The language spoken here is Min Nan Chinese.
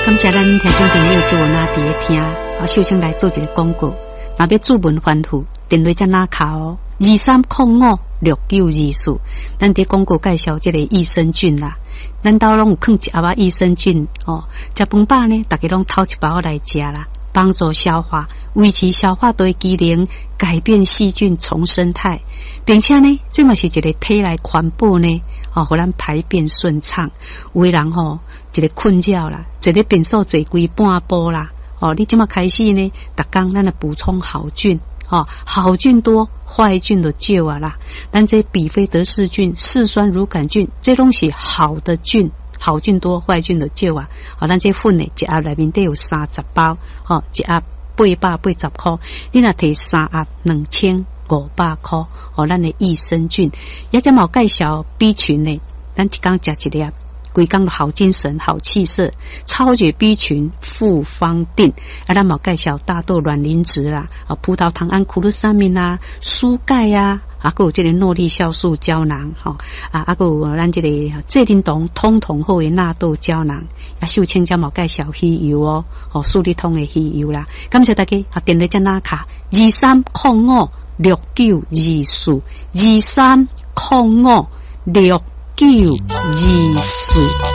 感謝咱聽眾朋友就有哪佇咧聽，啊，秀清來做一個廣告，若欲注文反覆，電話遮哪敲哦，23056924。咱佇廣告介紹這個益生菌啦，咱兜攏有囥一盒仔益生菌哦，食飯飽呢，逐家攏偷一包來食啦，幫助消化，維持消化道的機能，改變細菌叢生態，並且呢，這嘛是一個體內環保呢。哦，予咱排便順暢。有的人吼，一個困擾啦，坐咧便所坐規半晡啦。哦，你這馬開始呢，逐工咱來補充好菌，哦，好菌多，壞菌就少啊啦。咱這比菲德氏菌、嗜酸乳桿菌，這攏是好的菌，好菌多，壞菌就少啊。好，咱這粉呢，一盒內面底有30包，吼，一盒880塊，你若提三盒2500塊，哦，咱的益生菌，也才嘛有介紹 B 群呢，咱一工食一粒，規工好精神、好氣色，超級 B 群複方錠，啊，咱嘛有介紹大豆卵磷脂啦，啊，葡萄糖胺、苦魯三明啦，舒鈣啊，啊，閣有這個諾麗酵素膠囊，吼，啊，啊，閣有咱這個濟霖酮通通好的納豆膠囊，啊，秀清才嘛有介紹魚油哦，哦，舒利通的魚油啦，感謝大家，啊，電話遮哪敲23056924，23056924。